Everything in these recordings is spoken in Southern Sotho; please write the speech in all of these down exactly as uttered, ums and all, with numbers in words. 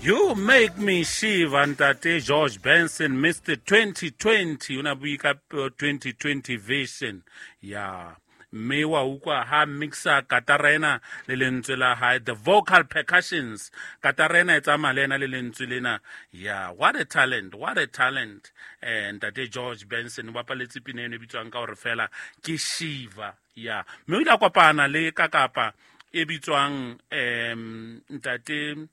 You make me shiver, ntate George Benson, Mister twenty twenty. O na bue ka twenty twenty vision. Ya. Mme wa utlwa ha mixa katara ena le lentswe la hae, the vocal percussions. Katara ena e tsamaya le ena le lentswe lena. Ya, what a talent, what a talent. Eh, ntate George Benson o bapaletse pina eno e bitswang ka hore fela ke Shiva. Ya, mme o ile a kopana le kakapa e bitswang, em, ntate,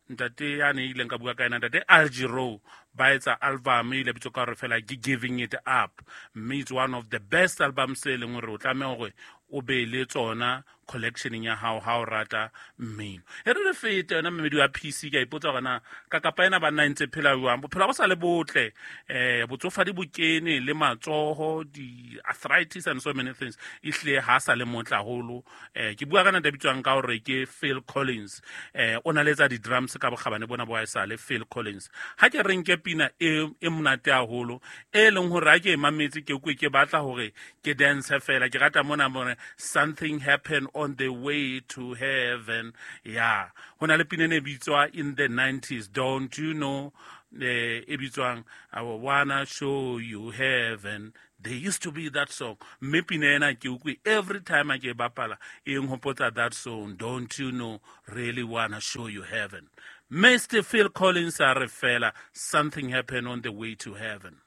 ntate ya ne ileng ka bua ka ena, ntate Al Jarreau, ba etsa album e ile bitswa ka hore fela ke Giving It Up. Mme it's one of the best albums e leng hore o tlameha hore o be le tsona collectioneng ya hao ha o rata mmino. E re re fete yona mmedi wa P C, ke a ipotsa hore na kakapa ena banna e ntse phela jwang. Bophelo ha bo sa le botle, eh, botsofadi bo kene le matsoho, di-arthritis and so many things. Ehlile ha sa le motle haholo. Eh, ke bua ka ntate a bitswang ka hore ke Phil Collins. Eh, o na le etsa di-drums ka bokgabane bona bo haesale Phil Collins. Ha ke re nke pina e, e monate haholo, e leng hore ha ke e mametse ke utlwe ke batla hore ke dance fela. Ke rata mona mona, something happened on the way to heaven. Yeah. Ho na le pina e ne bitswa in the nineties, don't you know? Eh, e bitswang, I wanna show you heaven. There used to be that song. Mme pina ena ke utlwe every time a ke e bapala, e nhopotsa that song, don't you know, really wanna show you heaven. Mister Phil Collins a re fela, something happened on the way to heaven.